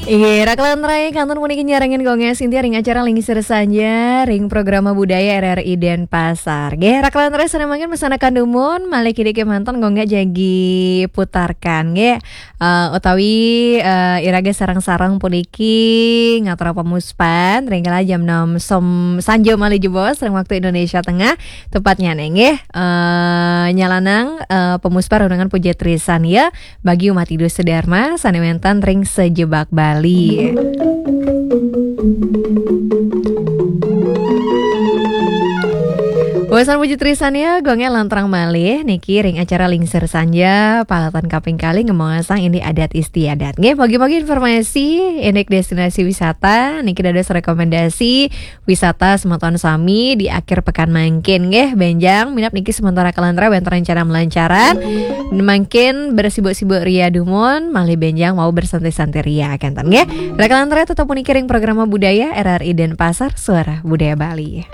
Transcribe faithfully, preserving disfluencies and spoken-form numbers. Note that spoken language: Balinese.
Iya, Raka Lantarai kantun puniki nyarengin Gung Sintia ring acara Lingsir Sanja ring Programa Budaya R R I Denpasar. Nggih, Raka Lantarai sareng mangkin mesanakan dumun, malih kidik manten Gung jagi putarkan nggih. Eh, utawi eh, iraga sareng-sareng puniki ngatur pemuspan ring kala jam enam som sanjo malih jebos ring waktu Indonesia Tengah, tepatnya nggih. Eh, nyalanang eh, pemuspan renungan Puja Trisania bagi umat Hindu sedharma sane wenten ring sajebag Bali. Wasan Puji Trisania, Gung lantrang malih niki ring acara Lingsir Sanja, palatan kaping kali ngemaosang indik adat istiadat. Nggih, bagi-bagi informasi indik destinasi wisata niki dados rekomendasi wisata semeton sami di akhir pekan mangkin nggih. Benjang minab niki sementara Raka Lantarai wenten rencana melancaran. Mangkin bersibuk-sibuk ria dumun, malih benjang mau bersantai-santai ria kenten nggih. Raka Lantarai tetep puniki ring Programa Budaya R R I Denpasar, Suara Budaya Bali.